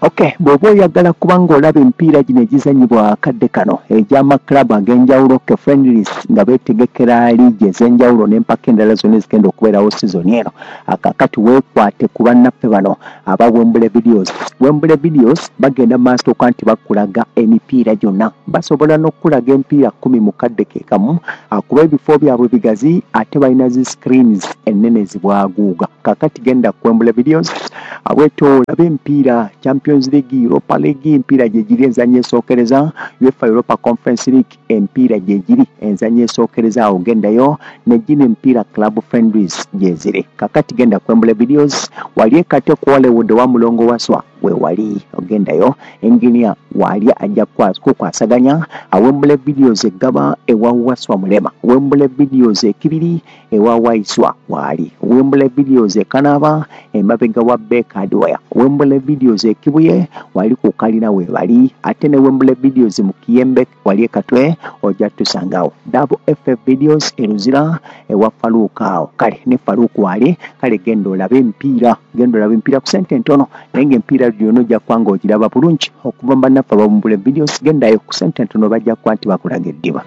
Okay, bw'oba oyagala kubanga olaba emipiira gino egizannyibwa akadde kano egy'amaklabu ag'enjawulo ke friendlies nga beetegekera liigi ez'enjawulo n'empaka endala zonna ezigenda okubeerawo sizoni eno, akakati weekwate ku bannaffe bano aba Wembule Videos. Wembule Videos bagenda maaso okuba nti bakulaga emipiira gyonna, basobola n'okukulaga emipiira 10 mu kadde ke kamu, kuba ebifo byabwe bigazi ate balina zi screens ennene zibwaguuga. Kakati genda ku Wembule Videos bwetyo olabe emipiira Champions League, Europa League, emipiira gye giri enzannya esookereza, UEFA Europa Conference League emipiira gye giri enzannya esookereza, awo gendayo ne gino emipiira club friendlies gye ziri. Kakati genda ku Wembule Videos wali ekate ku Hollywood wa Mulongo Waswa we wali ogendayo, engineer wali ajja kukwasaganya. Wembule Videos egaba ewa Waswa Mulema, Wembule Videos ekibiri ewa Waiswa wali, Wembule Videos ekanaba emabega wa Baker Hardware, Wembule Videos ekibuye wali ku kalina we bali, ate ne Wembule Videos mu Kiyembe wali ekatwe ojja tusangawo. Double FF Videos eruzira ewa Faluka awo, kale ne Faluka wali. Kale genda olabe emipiira, genda olabe emipiira ku sente ntono, naye ng'emipiira gyonna ojja kuba ng'ogiraba bulungi okuva mu bannaffe aba Wembule Videos. Gendayo ku sente ntono, bajja kuba nti bakulaga eddiba.